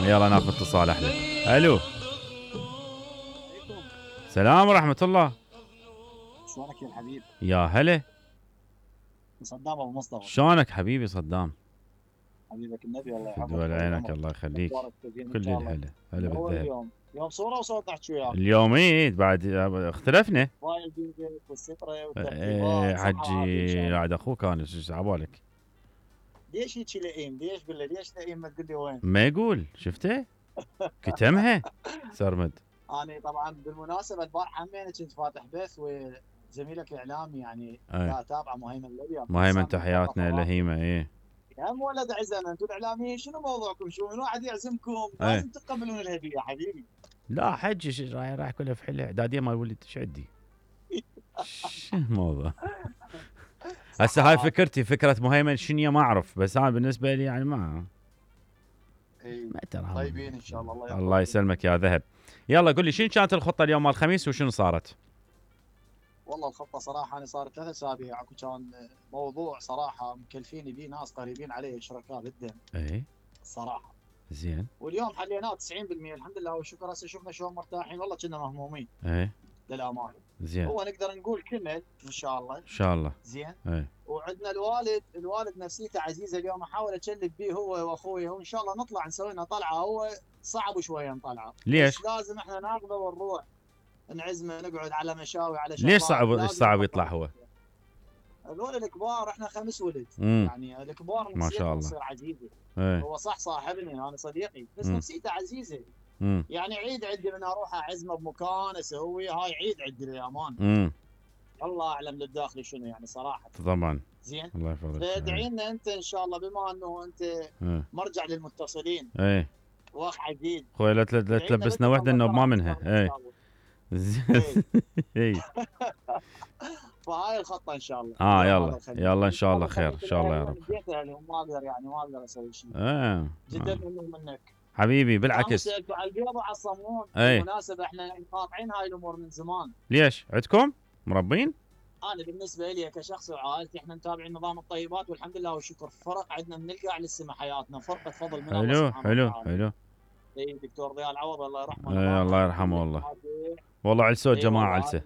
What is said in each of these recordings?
يلا ناخذ اتصال احلى. الو. سلام ورحمة الله. شلونك يا الحبيب؟ يا هلا. صدام ابو مصطفى. شلونك حبيبي صدام؟ حبيبك النبي الله يحفظك. دول عينك الله يخليك. كل الهلا. هلا بالذهب. اليوم صورة وصوت نحكي وياك. اليوم ايه بعد اختلفنا. وايد بيدك والسترة والترتيبات. حجي قاعد اخوك انا ايش عبالك؟ ليش هيك لئيم؟ ليش بالله ليش لئيم ما تقول لي وين؟ ما يقول شفته؟ كتمها سرمد. انا طبعا بالمناسبة البارحة همين كنت فاتح بث وزميلك الاعلامي يعني لا اتابعه مهيمن الابيض. مهيمن تحياتنا لهيمة ايه. يا ولد عزم انتم الاعلاميين شنو موضوعكم؟ شو من واحد يعزمكم لازم تقبلون الهديه يا حبيبي. لا حجي رايح كله في حله اعداديه مال ولد ايش عندي؟ شو الموضوع؟ هسه هاي فكرتي فكره مهيمن شنو ما اعرف بس انا بالنسبه لي يعني ما ترى طيبين ان شاء الله. الله يسلمك يا ذهب. يلا قول لي شنو كانت الخطه اليوم مال الخميس وشنو صارت؟ والله الخطه صراحه انا صارت 3 اسابيع اكو كان موضوع صراحه مكلفيني به ناس قريبين علي شركاء بالدم. اي الصراحه زين. واليوم حليناه 90% الحمد لله والشكر. هسه شفنا شلون مرتاحين والله كنا مهمومين. اي للامانه. زين. هو نقدر نقول كمل ان شاء الله. ان شاء الله. زين. اي. وعندنا الوالد نفسيته عزيزه اليوم احاول اتشلف به هو واخوي وان شاء الله نطلع نسوي لنا طلعه. هو صعب شويه نطلعه. ليش؟ لازم احنا ناخذه ونروح نعزمه نقعد على مشاوي على شغلات. ليش صعب يطلع هو؟ الولد الكبار احنا 5 ولد. يعني الكبار ما شاء الله نصير عزيزه. هو صح صاحبني انا صديقي بس نفسيته عزيزه. يعني عيد عندي من اروح اعزمه بمكان اسوي هاي عيد عندي للامان. الله اعلم للداخلي شنو يعني صراحه. طبعا. زين. الله يحفظك. فادعي لنا انت ان شاء الله بما انه انت مرجع للمتصلين. ايه. واخ عديد. خوي لا تلبسنا وحده انه ما منها. ايه. زين. اي. فهاي الخطه ان شاء الله. يلا ان شاء الله خير ان شاء الله يا رب. ما اقدر يعني ما اقدر اسوي شيء. جدا منك حبيبي بالعكس. على البيض وعلى الصمون. بالمناسبه احنا قاطعين هاي الامور من زمان. ليش؟ عندكم مربين؟ انا بالنسبه لي كشخص وعائلتي احنا متابعين نظام الطيبات والحمد لله والشكر. فرق عندنا من القاع للسما حياتنا فرقه فضل من الله سبحانه وتعالى. حلو. اي دكتور ضياء العوض الله يرحمه. الله يرحمه والله على صوت جماعه علسه.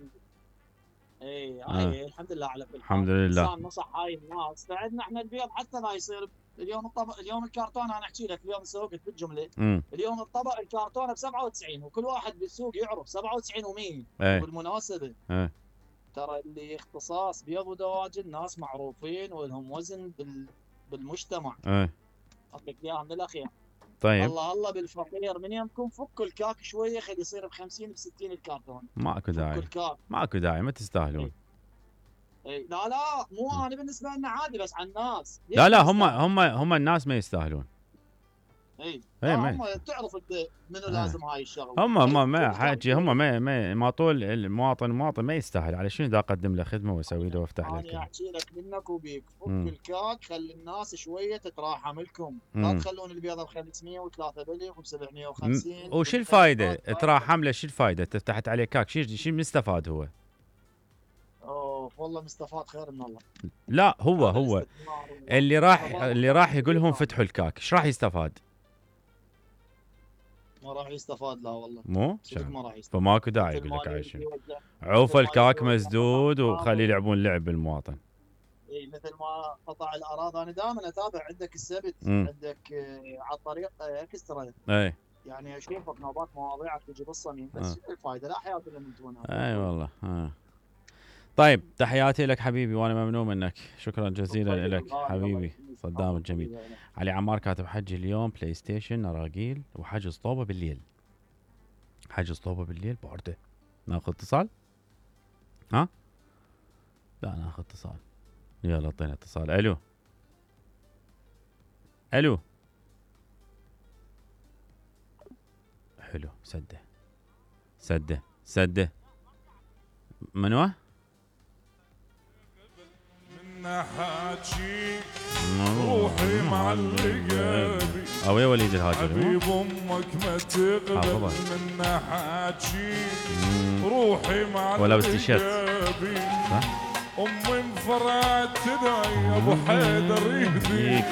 اي الحمد لله على كل حال. الحمد لله. انسان نصح هاي الناس فعندنا احنا البيض حتى لا يصير اليوم الكرتون انا احكي لك اليوم سوقت بالجمله. اليوم الطبق الكرتونه ب 97 وكل واحد بالسوق يعرف 97 و100. بالمناسبه ترى اللي اختصاص بيض ودواجن ناس معروفين ولهم وزن بالمجتمع. اعطيك اياها من الاخير. طيب. الله بالفقير من يمكم فكوا الكاك شويه خلي يصير ب 50 ب 60 الكرتون. ماكو داعي ما تستاهلون. لا مو انا بالنسبه لنا عادي بس على الناس. لا هم الناس ما يستاهلون. هم تعرف انت منو لازم هاي الشغله. هم ما حاجي هم ما طول المواطن ما يستاهل على شنو اذا اقدم له خدمه واسوي له وافتح له. انا احكي لك منك وبيك فك الكاك خلي الناس شويه تتراحم لكم. لا تخلون البيضه ب 500 و3 بلغ و 750. وش الفائده تراحم له؟ شو الفائده فتحت عليه كاك شو مستفاد هو؟ والله مستفاد خير من الله. لا هو اللي راح يقول لهم فتحوا الكاك ايش راح يستفاد؟ ما راح يستفاد لا والله. مو؟ ما راح يستفاد. فماكو داعي يقول لك عايش. عوف الكاك مسدود وخليه يلعبون لعب بالمواطن. اي مثل ما قطع الاراضي انا دائما اتابع عندك السبت عندك على الطريق اكسترا. اي. يعني اشوفك نوبات مواضيعك تجي بالصميم بس الفائده لا حياه الا من دونها. اي والله. طيب تحياتي لك حبيبي وانا ممنون منك. شكرا جزيلا لك حبيبي صدام الجميل. علي عمار كاتب حجي اليوم بلاي ستيشن اراجيل وحجز طوبه بالليل. حجز طوبه بالليل بورده. ناخذ اتصال؟ لا ناخذ اتصال. يلا اعطينا اتصال. الو حلو. سده منو؟ حاجي روحي معلقة بي او يا وليد الهاجري حبيب امك ما تغلب من حاجي روحي معلقة ولا بالتيشيرت صح؟ امي انفرعت يا ابو حيدر يهديك